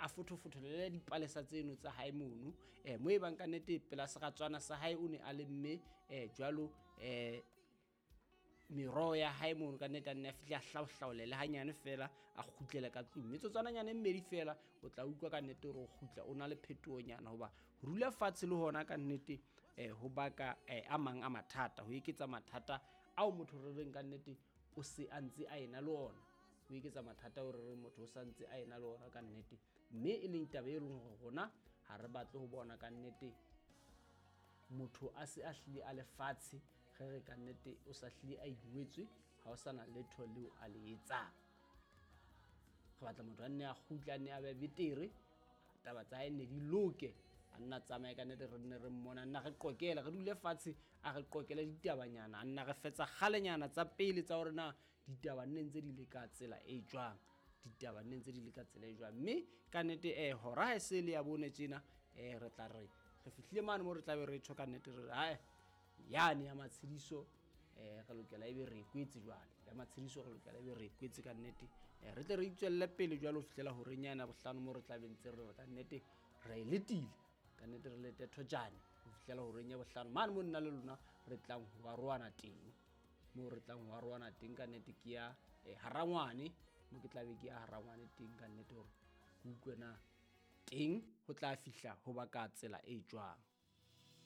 a fothofotholele dipalesa tseno tsa hae mono mo e bang ka nnete pela seratswana sa hae o ne a lemme jwalo meroho ya hae mono ka nnete a nne a fihle a hlaohlaolele hanyane fela a kgutlele ka tlung. Metsotswananyana e mmedi fela o tla utlwa ka nnete hore o kgutla o na le phetohonyana, hoba ho dula fatshe le hona ka nnete ho baka a mang a mathata, ho eketsa mathata ao motho re reng ka nnete o se a ntse a ena le ona, ho eketsa mathata ao re reng motho o sa ntse a ena le ona ka nnete, mme e leng taba e leng hore rona ha re batle ho bona ka nnete motho a se a hlile a le fatshe, re re ka nnete o sa hlile a ingwetswe, ha o sana letho leo a le etsang. Re batla motho a nne a kgutle, a nne a be betere, taba tsa hae nne di loke, a nna tsamaye ka nnete, re nne re mmona, a nna re qokela, re dule fatshe a re qokele ditabanyana, a nna re fetsa kgalenyana tsa pele tsa hore na ditaba nne ntse di le ka tsela e jwang, ditaba nne ntse di le ka tsela e jwang. Mme ka nnete hora ha e se le ya bone tjena, re tla re re fihlile mane mo re tla be re tjho ka nnete re re hae yane ya matshediso, re lokela ebe re kwetse jwale ya matshediso, re lokela ebe re kwetse ka nnete, re tle re itswelle pele jwalo ho fihlela horeng yana bohlano mo re tla be ntse re re ka nnete re letile ka nnete re lete thojane ho fihlela horeng ya bohlano mane mo nna le lona re tlang ho arohana teng, mo re tlang ho arohana teng ka nnete ke ya harangwane, mo ke tla be ke ya harangwane teng ka nnete hore ke utlwe na teng ho tla fihla ho ba ka tsela e jwang.